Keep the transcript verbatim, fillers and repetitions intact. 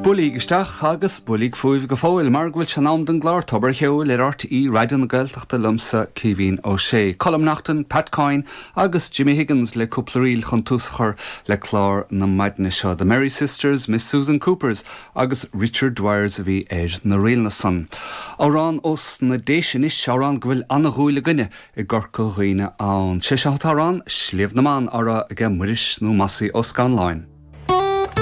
Buailigí isteach agus buailigí fúibh go fóill mar go bhfuil sé in am don gclár Tobar an Cheoil ar RTÉ Raidió na Gaeltachta liomsa Caoimhín Ó Sé. Colm Naughton, Pat Coyne agus Jimmy Higgins le cúpla ríl chun tús a chur le clár na maidine seo. The Merry Sisters, Miss Susan Coopers agus Richard Dwyers a bhí ar na ríleanna san. Amhrán ós na Déise anois amhrán go bhfuil an-dhúil againne i gCorca Dhuibhne ann. Sé seo an t-amhrán Sliabh na mBan á rá aige Muiris nó Mossy Ó Scanláin.